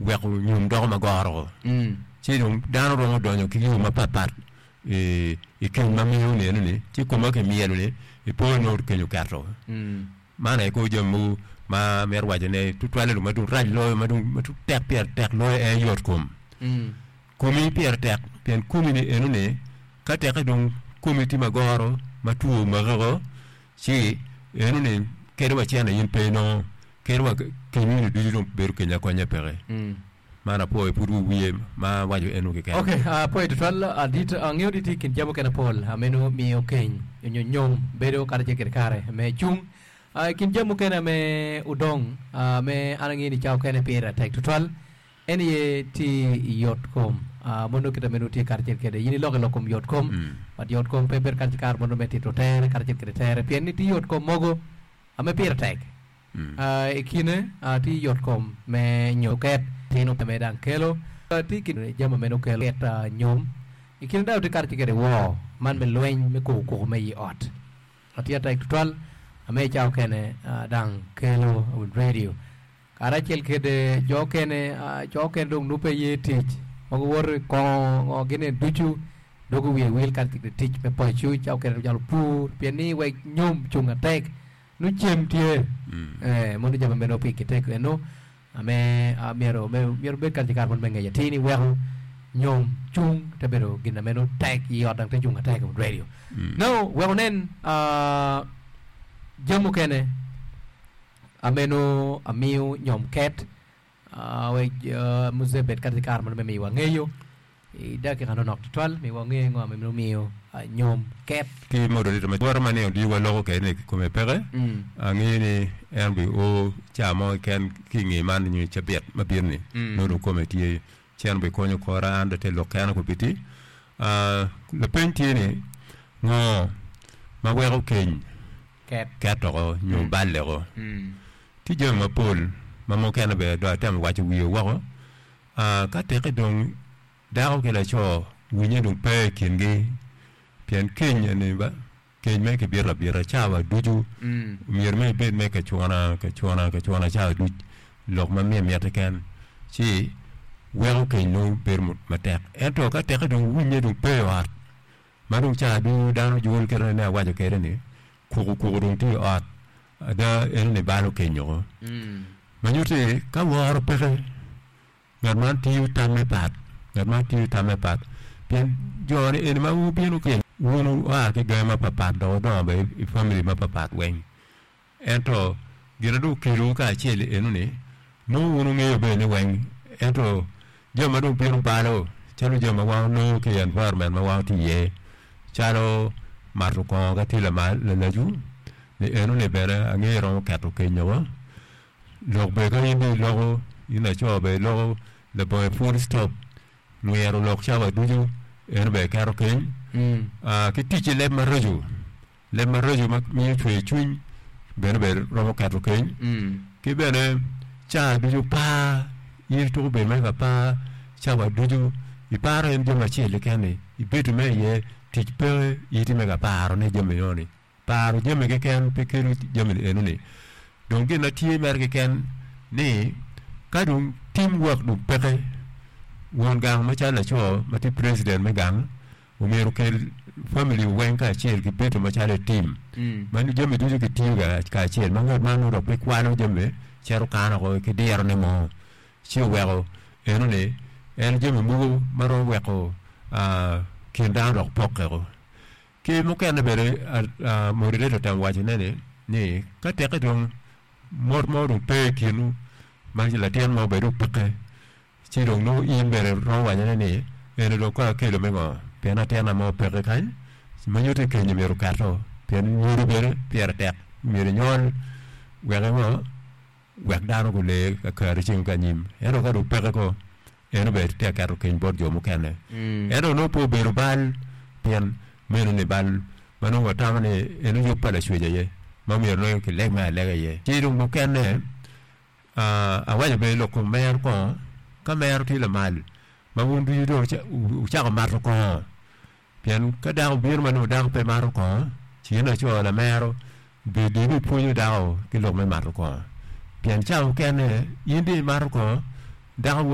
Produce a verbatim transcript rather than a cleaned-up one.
Weko nyom doko magoro. Ci dong dano romo donyo ki yo mapatpat i i keny ma miyo neno-ni, ci koma kimyelo-ni ipo nongo keny oketo. Man aye kor jami mogo ma amito wacone tutwalle dong ma dong rac loyo ma dong ma dong tek pire tek loyo en yot kom. Komi pire tek pien komi-ni enoni ka tekke dong komi tye magoro ma two omaki-ko ci enoni kadi wa cene in pe inongo kadi wa kenyini ducu dong bedo keny akonya peke. Man apwoyo pud wi wiye ma awaco eno keken. Ok, apwoyo tutwal adit. Angeyo ni tye i kin jami mukene pol meno miyo keny nyo nyom bedo karacel kede kare me cung. I kin jami mukene me odong me an angeyo ni cawa okene pire tek tutwal en aye tye i yot kom. Mono kite meno tye karacel kede in iloko i lok kom yot kom but yot kom pe bedo karacel kare mono me tito tere karacel kede tere pien ni tye yot kom mogo me pire tek. I kine tye yotkom me nyo ket tino me dang kelo tye ki jami meno kelo ket nyom. I kine dano tye kare kede woo man me lweny me koko koko me i ot. Tye atek tutwal me ca okene dang kelo radio. Karacel kede jo okene co okene dong nubbe ye tic ma guwoto i kongo ngo gini ducu dwogo wiye wil kare kede tic me paco ca okene calo pur pien ni wek nyom cung atek nongo cem tye eh mono jami meno pi kitek eno me myero myero obed kare ki kare mono me ngec atir ni weko nyom cung te bedo gin na meno tek i ot dang te cung atek i radio now wek onen jami mukene ameno amiyo nyom ket wek muzee bed kare ki kare mono me miyo wangeyo I dakika nonok tutwal, mi wange ngo ma miyo nyom ket. Ki moderator ma woto ma nino ducu waloko kwede ni kome peke, angeyo ni en obi o ca mo keken ki i nge man nyo i cabit ma bino ni nongo dong kome tye ci en obi konyo kora an dong te lok kena kobiti. Lapeny tye ni ngo ma weko keny ket oko nyo balle oko? Tye jami mapol ma mukene bene dong atemo waco wiye woko. Ka teke dong dako ki laco winye dong pe i kingi, pien keny eni ba, keny me kibito abita cawa ducu, myero me ibed me kacuna, kacuna, kacuna cawa duc, lok ma miye mit keken, ci weko keny nongo bedo matek. Ento ka teke dong winye dong pe i ot, ma dong cawa ducu dano jol kite ma awaco kwede ni, kuku kuku dong tye i ot, ada enoni balo keny woko. Ma nyutti ka woro peke, ngat man tiyo tamme pat, ngat man tiyo tamme pat, pien jo-ni eni ma wubino ki wun wua ki gangi mapapat dok wudongo bene i famili mapapat weng. Ento gin ma dong okelowu kacel eno-ni nongo wun wungeyo bene ni weng, ento jami ma dong bino balo calo jami ma wan wanongo ki i environment ma wan watye iye calo mato kongo ka tye lamal lalacu ni eno-ni bene angeyo romo keto keny woko. Lok bene ka in dong iloko, in laco bene iloko labongo full stop, nwiro lok cawa ducu eno bene keto keny. Ki tic ki leb maraco, leb maraco ma miyo cwer cwiny bene bene romo keto keny. Ki bene cawa ducu par, in ituko bedo mere ka par cawa ducu, iparo en jami acel keken-ni, ibedo mere iye tic peke in itye mere ka parone jami enoni. Paro jami keken pe kelo jami eno-ni. Dong gin ma tye mere keken ni ka dong team work dong peke, won gang macalo laco ma tye president me gang omyero okel family weng kacel ki bedo macalo i team ma jami ducu kitiyo kacel ma ngat man nongo dok pe kwalo jami cito kano woko ki dirone mo ci oweko eno-ni en jami mogo ma romo weko kin dano dok pokke woko. Ki mukene bene moderator otemo wacone ni ni ka teke dong mot mo dong pe i kinwu ma latin mo bene dong peke ci dong nongo in bene romo wacone ni eni dong kong akelo me ngo pien latinna mo peke kany ma nyuto ni kenyo myero oketo pien nyodo bene pire tek myero inywal wek ingo wek dano gulee kakare ceng ki anyim ento ka dong peke ko en obedo tye ka keto keny bot jo mukene. Ento onongo pe obedo bal pien meno ni bal ma nongo watamo ni en yub pa Lacwec aye ma myero nongo kileg me alega iye. Ci dong mukene awaco bene lok kom mero kongo, ka mero tye lamal ma wun ducu dong wucako mato kongo Pien ka dako obino ma nongo dako pe mato kongo, ci in laco lamero bed ibipwonyo dako ki lok me mato kongo. Pien cawa mukene in dong imato kongo, dako